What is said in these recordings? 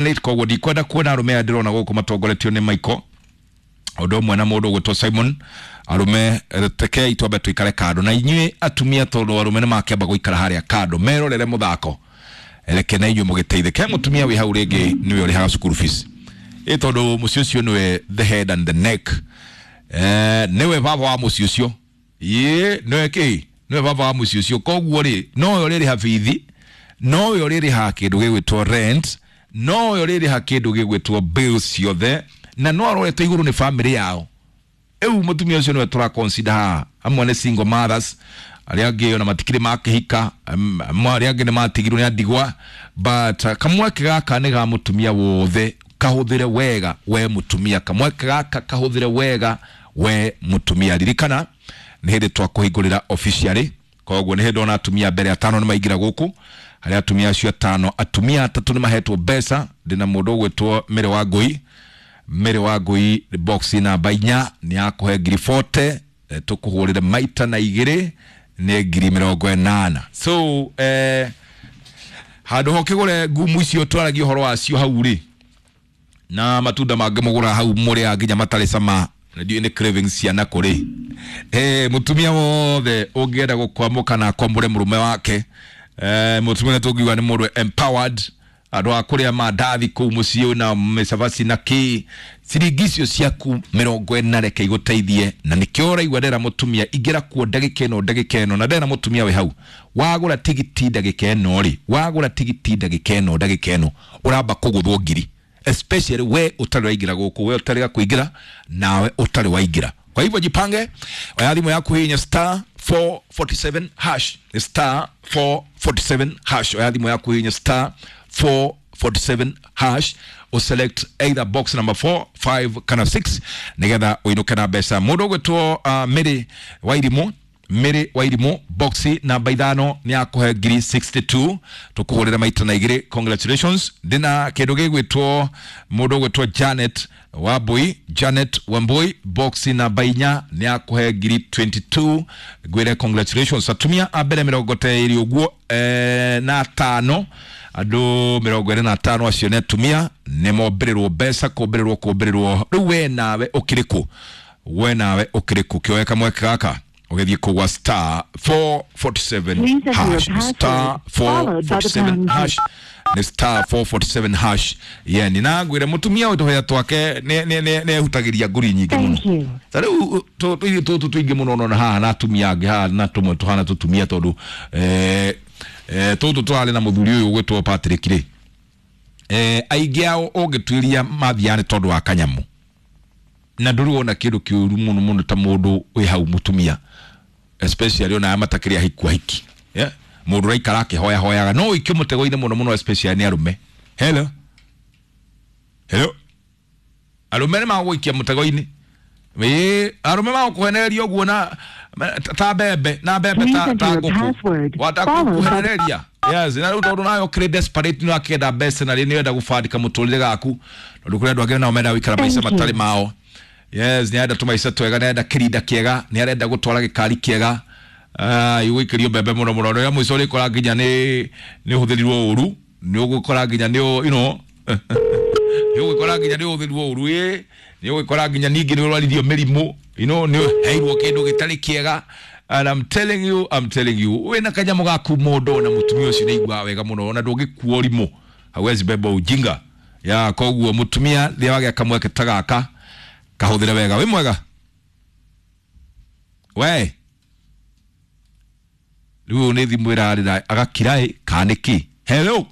Koguo ndikwenda kuona arume aya ndĩrona gũkũ matongoretio nĩ Michael ũndũ ũmwe na mũndũ ũgwĩtwo Simon. Arume, rekei twambe tũikare kando na inyuĩ atumia, tondũ arume nĩ makĩamba gũikara harĩa kando merorere mũthako. Reke na inyuĩ mũgĩteithĩke. Mũtumia wĩ hau rĩngĩ nĩwe ũrĩhaga cukuru fees, ĩ tondũ mũciĩ ũcio nĩwe the head and the neck, nĩwe baba wa mũciĩ ũcio, ĩ nĩwe kĩ, nĩwe baba wa mũciĩ ũcio. Koguo rĩ, nowe ũrĩrĩha bithi, nowe ũrĩrĩha kĩndũ gĩgwĩtwo rent, nowe ũrĩrĩha kĩndũ gĩgwĩtwo bills ciothe, na no arorete igũrũ nĩ family yao. Rĩu mũtumia ũcio nĩwe tũra consider haha. Amwe nĩ single mothers, arĩa angĩ ona matikĩrĩ makĩhika, arĩa angĩ nĩ matigirwo nĩ andigwa, but kamweke gaka nĩ ga mũtumia wothe. Kahũthĩre wega we mũtumia, kamweke gaka kahũthĩre wega we mũtumia. Ririkana nĩ hĩndĩ twakũhingũrĩra officially, koguo nĩ hĩndĩ ona atumia mbere atano nĩ maingĩra gũkũ. Harĩa atumia acio atano, atumia atatũ nĩ mahetwo mbeca. Ndĩna mũndũ ũgwĩtwo Mary wa Ngũi. Mary wa Ngũi, box namba 4 nĩ yakũhe ngiri 40. Tũkũhũrĩre maita na igĩrĩ nĩ ngiri 80. So handũ ho kĩgũre ngumu icio twaragia ũhoro wacio hau rĩ, na matunda mangĩ mũgũra hau mũrĩa nginya matarĩ cama, na ndiũĩ nĩ cravings ciana kũrĩ. Mũtumia wothe ũngĩenda gũkwamũka na akwamũre mũrũme wake, mũtumia nĩ tũngiuga nĩ mũndũ empowered, andũ a kũrĩa mandathi kũu mũciĩ na mĩcabaci na kĩ, ciringi icio ciaku 40 reke igũteithie. Na nĩkĩo ũraigua ndera mũtumia ingĩra kuo ndagĩka ĩno, ndagĩka ĩno, na ndera mũtumia wĩ hau wagũra tigiti ndagĩka ĩno rĩ, wagũra tigiti ndagĩka ĩno, ndagĩka ĩno ũramba kũgũthwo ngiri, especially we ũtarĩ waingĩra gũkũ, we ũtarĩ kũingĩra nawe ũtarĩ waingĩra. Kwa hivyo jipange, oya thimũ yaku, hihinya star 447 hash, star 447 hash. Oya thimũ yaku, hihinya star 447 hash, uselect either box number 4, 5 kana 6 nigetha uinuke na mbeca. Mũndũ ũgwĩtwo Mary Wairimũ, Mary Wairimũ, box namba 5 nĩ akũhe ngiri 62, tũkũhũrĩra maita na igĩrĩ. Congratulations. Ndĩna kĩndũ gĩgwĩtwo mũndũ ũgwĩtwo Janet Wambui, Janet Wambui, box namba 4 nĩ akũhe ngiri 22, ngwĩre congratulations. Atumia a mbere 25 ũguo, na atano, andũ 25 acio nĩ atumia, nĩ mombĩrĩrwo mbeca, kũmbĩrĩrwo, kũmbĩrĩrwo. Rĩu we nawe ũkĩrĩ kũ? We nawe ũkĩrĩ kũ? Kĩoe kamweke gaka ũgĩthiĩ kũgwa star 447 Please enter your hash, star password, followed by the 447 pound key. hash, nĩ star 447 hash. Yeni na ngwĩre mũtumia ũyũ tũhĩa twake nĩ ehutagĩria ngũri nyingĩ mũno. Thank you. Ta rĩu tũirĩ tũtũ tũingĩ mũno nona haha na atumia angĩ haha na tũmwe tũhana tũtumia, tondũ tũtũ tũrarĩ na mũthuri ũyũ ũgwĩtwo Patrick rĩ, aingĩ ao ũngĩtuĩria mathiaga nĩ tondũ wa kanyamũ, na ndũrĩ wona kĩndũ kĩũru mũno mũno ta mũndũ wĩ hau mũtumia, especially ona aya matakĩrĩ ahiku ahiki, yeah? Mũndũ ũraikara akĩhoyahoyaga no ũikio mũtego-inĩ mũno mũno, especially nĩ arũme. Hello, hello, arũme nĩ magũikia mũtego-inĩ. Ĩĩ, arũme magũkũhenereria ũguo na ta mbembe na mbembe Please ta enter ta your ngũkũ password, wata followed by kũhenereria. Yes, na rĩu tondũ nawe ũkĩrĩ desperate, nĩ wakĩenda mbeca na rĩ nĩ wenda gũbandĩka mũtũrĩre gaku, tondũ kũrĩ andũ angĩ nao menda gũikara maica Thank you. matarĩ mao. Yes, nĩ arenda tũmaica twega, nĩ arenda kĩrinda kĩega, nĩ arenda gũtwara gĩkari kĩega. Igũikĩrio mbembe mũno mũno rĩrĩa mũico ũrĩkora nginya nĩ ũhũthĩrirwo ũru, nĩ ũgũkora nginya nĩ you know nĩ ũgũkora nginya nĩ ũhũthĩrirwo ũru, ĩ nĩ ũgũkora nginya ningĩ nĩ ũrwaririo mĩrimũ, nĩ ũheirwo kĩndũ gĩtarĩ kĩega. And I'm telling you, I'm telling you, wĩna kanyamũ gaku mũndũ na mũtumia ũcio nĩ aiguaga wega mũno, ona ndũngĩkua ũrimũ, hawezi beba ujinga ya. Koguo mũtumia rĩrĩa wagĩa kamweke ta gaka, kahũthĩre wega. Wĩ mwega we? Rĩu nĩ thimũ ĩrarĩra agakira ĩ kana nĩ kĩ? Hello,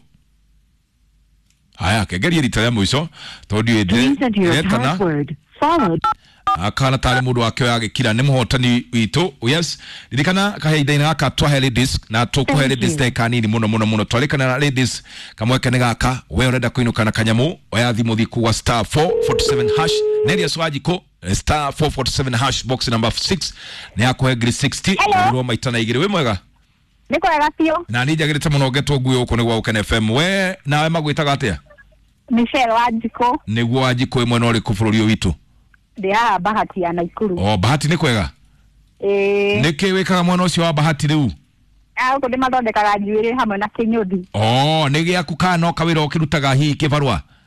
haya, kengerie rita rĩa mũico tondũ ndiũĩ. Please enter your ndĩretana password, followed akana tarĩ mũndũ wake agĩkira. Nĩ mũhotani witũ. Yes, ririkana kahinda-inĩ gaka twahe ladies na tũkũhe Thank ladies you. ndagĩka nini mũno mũno mũno. Twarĩkana na ladies, kamweke nĩ gaka. We ũrenda kũinũka na kanyamũ, oya thimũ, thiĩ kũgwa star 447 hash. Neria Swanjikũ, star 447 hash, box number 6 nĩ yakũhe ngiri 60. Hello. Rwo maita na igĩrĩ. Wĩ mwega? Nĩ kwega biũ. Na niĩ njagĩrĩte mũno ngetwo ngui gũkũ nĩ gwa Gũkena FM. We nawe magwĩtaga atĩa? Michelle Wanjikũ. Nĩguo Wanjikũ, ĩmwe na ũrĩkũ bũrũri ũyũ witũ? Ndĩ haha Bahati ya Naikuru. O Bahati nĩ kwega? Ĩĩ. Nĩkĩ wĩkaga mwena ũcio wa Bahati rĩu? Gũkũ ndĩmathondekaga njuĩrĩ hamwe na kĩnyũthi. O nĩ gĩaku kana no kawĩra ũkĩrutaga hihi kĩbarũa?